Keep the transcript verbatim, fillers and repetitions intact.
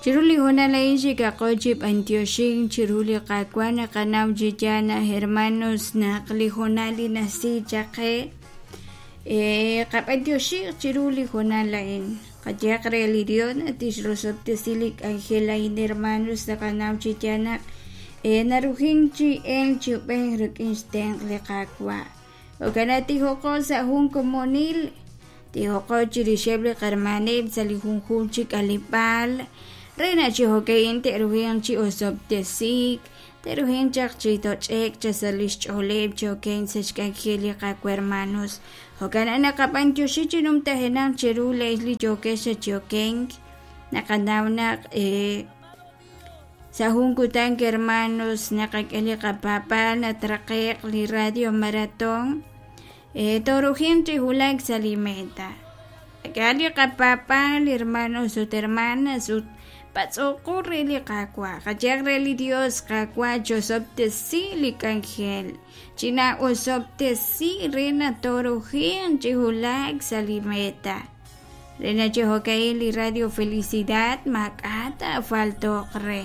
Chiru li hoonal a'in xikaqo chi b'antioxink chiru li Qaawa' naqanaw chi yaal naq hermanos naq li hoonal li najsi chaq qe eh, qab'antioxij chiru li hoonal a'in qayehaq re li Dios naq tixrosob'tesi li k'anjel a'in hermanos naqanaw chi yaal naq eh, narujin chi elk chi ub'ej rik'in xtenq' li Qaawa' jo'kan naq tijoqo sa' jun komonil tijoqo chirixeb' li qarmaneb' sa' li junjunq chi k'aleb'aal re naq chi jo'ka'in te'ruhinq chi osob'tesiik te'ruhinq chaq chi toch'ek chaq sa' lix ch'ooleb' chi okenk sa' xk'anjel li Qaawa' hermanos jo'kan naq naqab'antioxi chi numtajenaq cheru le'x li yookex chi okenk naqanaw naq eh, sa' jun kutan hermanos naqak'e li qapaab'aal natraqe'q li radio maratón eh, torujinq chi wulak sa' li meta qak'ehaq li qapaab'aal hermanos ut hermanas ut patz'oqo re li Qaawa' qayehaq re li Dios Qaawa' chosob'tesi li k'anjel chinaosob'tesi re naq torujinq chi wulak sa' li meta re naq chi jo'ka'in li Radio Felicidad maak'a' taafalto'q re.